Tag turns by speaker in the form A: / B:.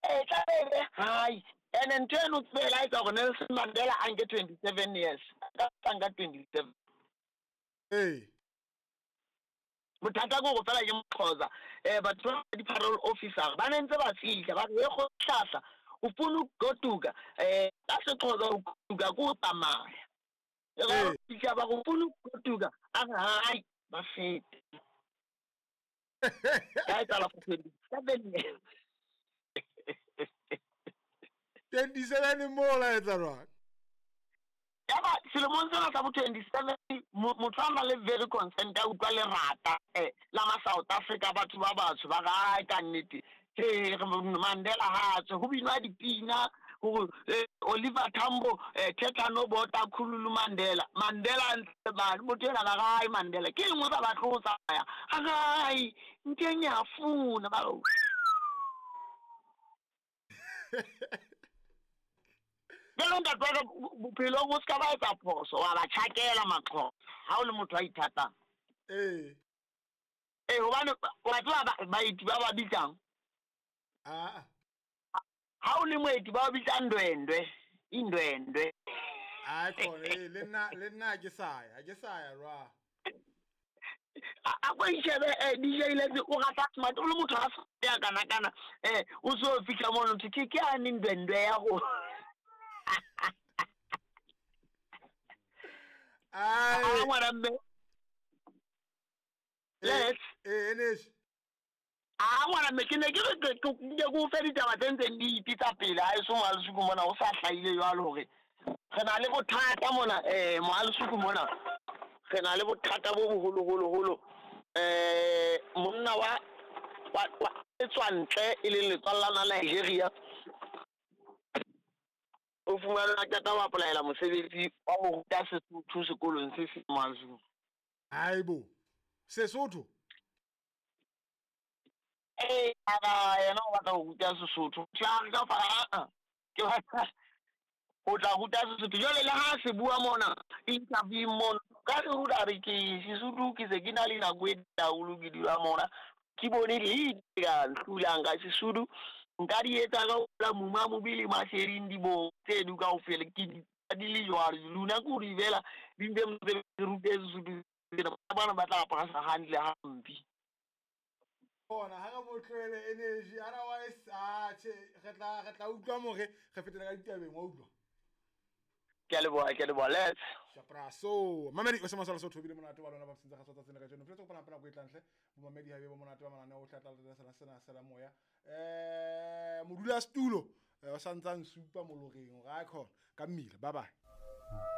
A: E tla be hai. Ene ntho eno tsebe la etsa hore Nelson Mandela a nke 27 years. Ka nka 27.
B: Ee.
A: Bothata ke hore fela ke Moxhosa. Batho ba di-parole officer ba ne ntse ba fihla ba re e kgohlahla o funa ukugoduka ka Sexhosa o goduka ke o tsamaya. E ba fihla ba re o funa ukugoduka a re hai ba fete. Ka etsahala for 27 years.
B: 27 mo la etsa jwang?
A: Yaba selemong sena sa bo 27 motho a nang le very consent a utlwa lerata la ma South Africa batho ba batsho ba re ai ka nnete Mandela ha tswe ho binwa dipina hore Oliver Tambo thetha no bota khululu Mandela Mandela ntse ba motho ena ba re ai Mandela ke engwe ba batle ho tsamaya a ai nteng ya funa ba jalo ntate wa ka bophelong o ska ba etsa phoso wa ba tjhakela Maxhosa ha o le motho a ithatang.
B: Ee.
A: Ee, hobane wa tseba baeti ba ba bitsang.
B: Ah.
A: Ha o le moeti ba bitsa ndwendwe, indwendwe.
B: Ai khona le nna ke sa ya, ke sa ya rwa.
A: A ko ishebe DJ Letse o rata smart o le motho a ya kana kana o so fihla mono ke ke a ni ndwendwe ya go.
B: Ai
A: ngwana mme. Let's
B: enesh.
A: A ngwana mme ke ne ke re ke go fe ditaba tse ntseng di ipitsa pele ha eso Moalesuku mona o sa hlahile jwalo hore re na le bothata mona Moalesuku mona re na le bothata bo boholoholo monna wa tswa ntle e leng letswalla la Nigeria o fumana qeta wa applyela mosebetsi wa ho ruta Sesotho sekolong se seng Moalesuku.
B: Haibo Sesotho
A: ara yena o batla ho ruta Sesotho tla ka fa ke batla o tla ruta Sesotho jwale le ha se bua mona interview mona ka re ruta re ke Sesotho ke se ke na le nako e haholo ke dula mona ke bone le ka hlulang ka Sesotho nka di etsa ka la muma mobile masering di bo tse du kaofela ke di le jwalo luna ke hore fela di ntse ntse rute Sesotho bana ba tla apara hantle hampe.
B: Bona ha re mo tlohele energy otherwise che re tla utlwa more re fetela ka ditabeng wa utlwa.
A: Ke a leboha let's
B: Shapraso mamedi o se masala so thobile monate wa lona ba sentse ga tsatsa tsena ka jeno fetsa go pana go etlantle bo mamedi ha be bo monate ba manane o tla tla sena sela moya modula stulo o santsang supa moloreng ga khona ka mmila bye bye.